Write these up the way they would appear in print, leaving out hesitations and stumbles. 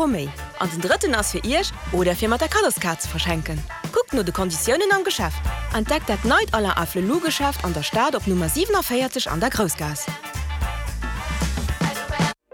Euro méi. An den drëtten ass fir Iech oder fir mat der Kaddoskaart ze verschenken. Kuckt no de Konditiounen am Geschäft. Entdeckt dat neit Alain Afflelou Geschäft an der Stad op Nummer 47 an der Groussgaass.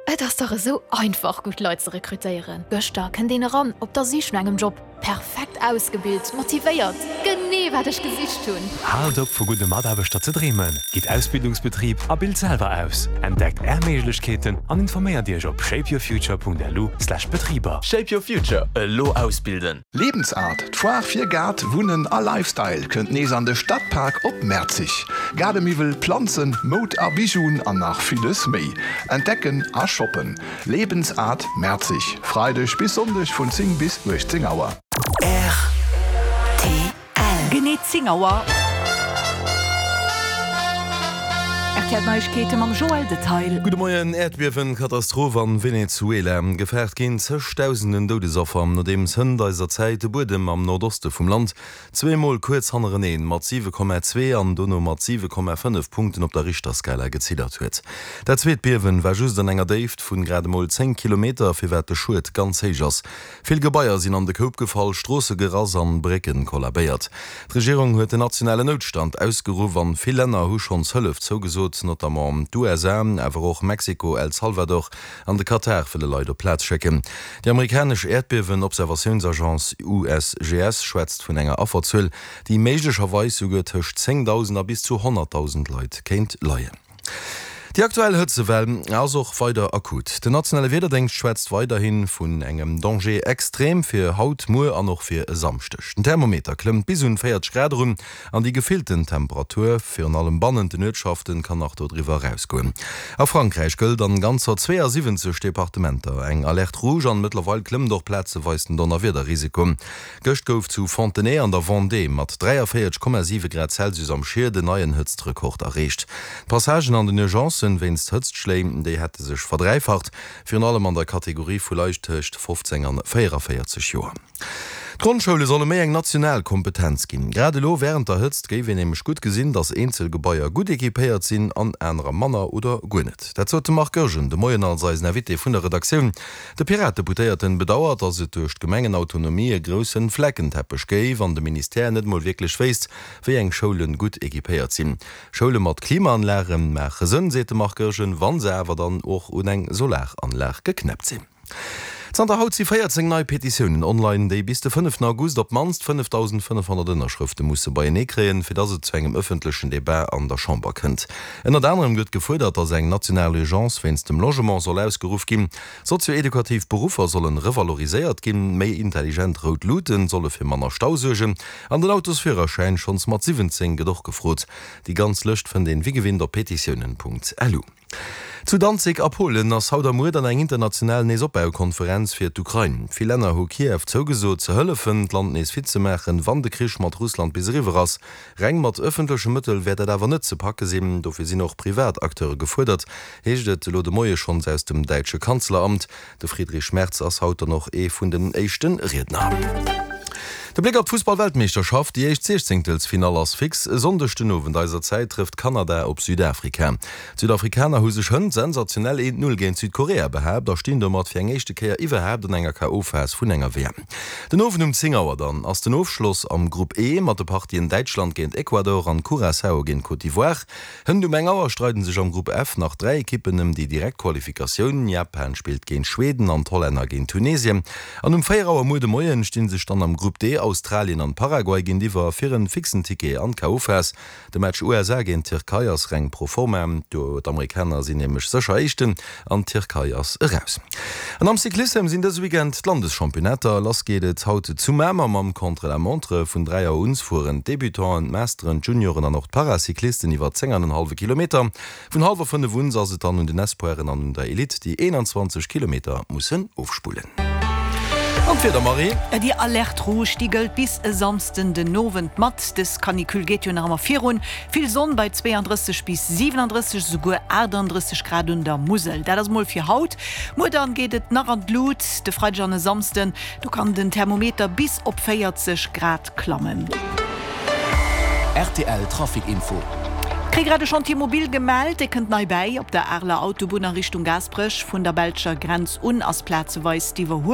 Et ass dach esou einfach gutt Leit ze rekrutéieren. Gëschter kënnt een eran op der Sich no engem Job. Perfekt ausgebilt, motivéiert, genee wat ech gesicht hunn! Haalt op vu gudde Mataarbechter ze dreemen, gitt Ausbildungsbetrib a bilt selwer aus. Entdeckt Är Méiglechkeeten an informéiert Iech op shapeyourfuture.lu/betriber. Shape your future, elo ausbilden! Lebensart, d'Foire fir Gaart, Wunnen a Lifestyle kënnt nees an de Stadpark op Merzig. Gaardemiwwel, Planzen, Moud a Bijouen an nach villes méi. Entdecken a shoppen. Lebensart Merzig, Freideg bis Sonndeg vun 10 bis 18 Auer. Rtl. Genee 10 Auer. RTL Neiegkeete mam Joël Detail. Gudde Moien, Äerdbiewen, Katastroph an Venezuela, Gefaart ginn zëchdausenden Doudesaffer, nodeems hënt eiser Zäit de Buedem am Nordoste vum Land zweemol kuerz hannereneen mat 7,2 an dono mat 7,5 Punkten op der Richterskala geziddert huet. Dat zweet Biewen war just an enger Déift vun grad emol 10 Kilometer, firwat de Schued ganz héich ass. Vill Gebaier sinn an de Koup gefall, Stroosse gerass an Brécken kollabéiert. D'Regierung huet den nationalen Noutstand ausgeruff an vill Länner hu schonns Hëllef zougesot, notamment d'USA, awer och Mexiko, El Salvador an de Katar wëlle Leit op d'Plaz schécken. Déi amerikanesch Äerdbiewen-Observatiounsagence USGS schwätzt vun enger Afferzuel, déi méiglecherweis souguer tëscht 10.000 a bis zu 100.000 Leit kéint leien. Déi aktuell Hëtzewell ass och weider akut. Den nationale Wiederdéngscht schwätzt weiderhi vun engem Danger extrême fir haut, muer an och fir e Samschdeg. Den Thermometer klëmmt bis un 40 Grad erun An déi gefillten Temperatur, virun allem bannent den Uertschaften, kann nach dodriwwer erausgoen. A Frankräich gëllt an ganzer 72 Departementer eng Alerte rouge an mëttlerweil klëmmt och plazeweis den Donnerwiederrisiko. Gëscht gouf zu Fontenay an der Vendée mat 43,7 Grad Celsius am Schied en neien Hëtztrekord erreecht. D'Passagen an den Urgencen wéinst Hëtztschléi, déi hätte sech verdräifacht, virun allem an der Kategorie vu Leit tëscht 15 an 44 Joer. D'Grondschoule solle méi eng national Kompetenz ginn. Grad elo wärend der Hëtzt géif een nämlech gutt gesinn, datt eenzel Gebaier gutt equipéiert sinn an anerer manner oder guer net. Dat sot de Marc Goergen de Moien als eisen Invité vun der Redaktioun. De Piratdeputéierten bedauert, datt et duerch d'Gemengenautonomie e groussen Fleckenteppech géif an de Ministère net mol wierklech wéisst, wéi eng Schoulen gutt equipéiert sinn. Schoule mat Klimaanlage maache Sënn, seet de Marc Goergen, wa se awer dann och un eng Solaranlag geknäppt sinn. Zanter haut si 14 nei Petitiounen online, déi bis de fënneften August op d'mannst 5.500 Ënnerschrëfte musse beienee kréien, fir datt et zu engem ëffentlechen Debat an der Chamber kënnt. Ënnert anerem gëtt gefuerdert, datt eng national Urgence wéinst dem Logement soll ausgeruff ginn, sozio-edukativ Beruffer sollen revaloriséiert ginn, méi intelligent rout Luuten solle fir manner Stau suergen an den Autosführerschäin schonns mat 17 gëtt och gefrot. Déi ganz Lëscht fënnt een wéi gewinnt op petitiounen.lu. Zu Danzig a Polen ass haut a muer dann eng international Neesopbaukonferenz fir d'Ukrain. Vill Länner hu Kiew zougesot ze hëllefen, d'Land nees fit ze maachen, wann de Krich mat Russland bis eriwwer ass. Reng mat ëffentleche Mëttel wäert dat awer net ze packe sinn, dofir sinn och privat Acteure gefuerdert, heescht et elo de Moie schonns aus dem däitsche Kanzleramt. De Friedrich Merz ass haut dann och ee vun den éischte Riedner. De Bléck op d'Fussball-Weltmeeschterschaft, Déi éischt Siechzéngtelsfinall ass fix. E Sonndeg den Owend eiser Zäit trëfft Kanada op Südafrika. D'Südafrikaner hu sech hënt sensationell 1, 0 géint Südkorea behaapt a stinn domat fir eng éischte Kéier iwwerhaapt an enger KO-Phas vun enger WM. Den Owend um 10 Auer dann ass den Ofschloss am Grupp E mat de Partien Däitschland géint Ecuador an Curaçao géint Côte d'Ivoire. Hënt um eng Auer streiden sech am Grupp F nach 3 Ekippen ëm déi direkt Qualifikatioun. Japan spillt géint Schweden an d'Hollänner géint Tunesien. An um 4 Auer muer de Moien stinn sech dann am Grupp D Australien an Paraguay géintiwwer fir en fixen Ticket an d'KO-Phas. De Match USA géint Tierkei ass reng pro forma, d'Amerikaner sinn nämlech sécher Éischten an d'Tierkei ass eraus. An am Cyclissem sinn dëse Weekend d'Landeschampionnaater. Lass geet et haut zu Mamer mam Contre-la-montre. Vun 3 Auer un fueren d'Debutanten, d'Masteren, d'Junioren an och d'Paracyclisten iwwer 10 an en hallwe Kilometer. Vun hallwer 5 un ass et dann un den Espoiren an un der Elite, déi 21 Kilometer mussen ofspullen. An d'Wieder, Marie? Déi Alerte rouge, déi gëllt bis e Samsden den Owend mat. Dës Canicule geet jo nach ëmmer virun. Vill Sonn bei 32 bis 37, esouguer 38 Grad un der Musel. Dat ass mol fir haut. Muer dann geet et nach an d'Lut, de Freideg an e Samsden, do kann den Thermometer bis op 40 Grad klammen. Rtl Trafic Info. Kréie grad e Chantier mobile gemellt, dee kënnt nei bäi. Op der Areler Autobunn a Richtung Gaasperech vun der belscher Grenz un ass plazeweis d'Iwwerhuelspur.